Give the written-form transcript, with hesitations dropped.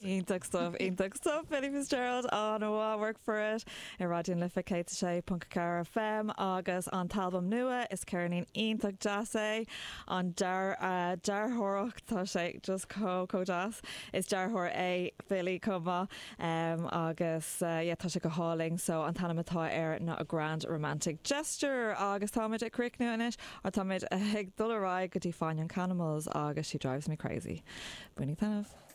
Iontach stuff, iontach stuff, Billy Fitzgerald an-mhaith, Work For It ar Raidió na Life 106.4 FM agus an t-albam nua, is ceirnín iontach deas é, an dearthóireacht, tá sé just chomh, chomh deas. Is dearthóir é Billy chomh maith agus yeah tá sé go hálainn so an t-ainm atá air ná A Grand Romantic Gesture agus táimid ag críochnú anois, or táimid ag dul ar aghaidh go dtí Fine Young Cannibals agus She Drives Me Crazy. Bainigí taitneamh.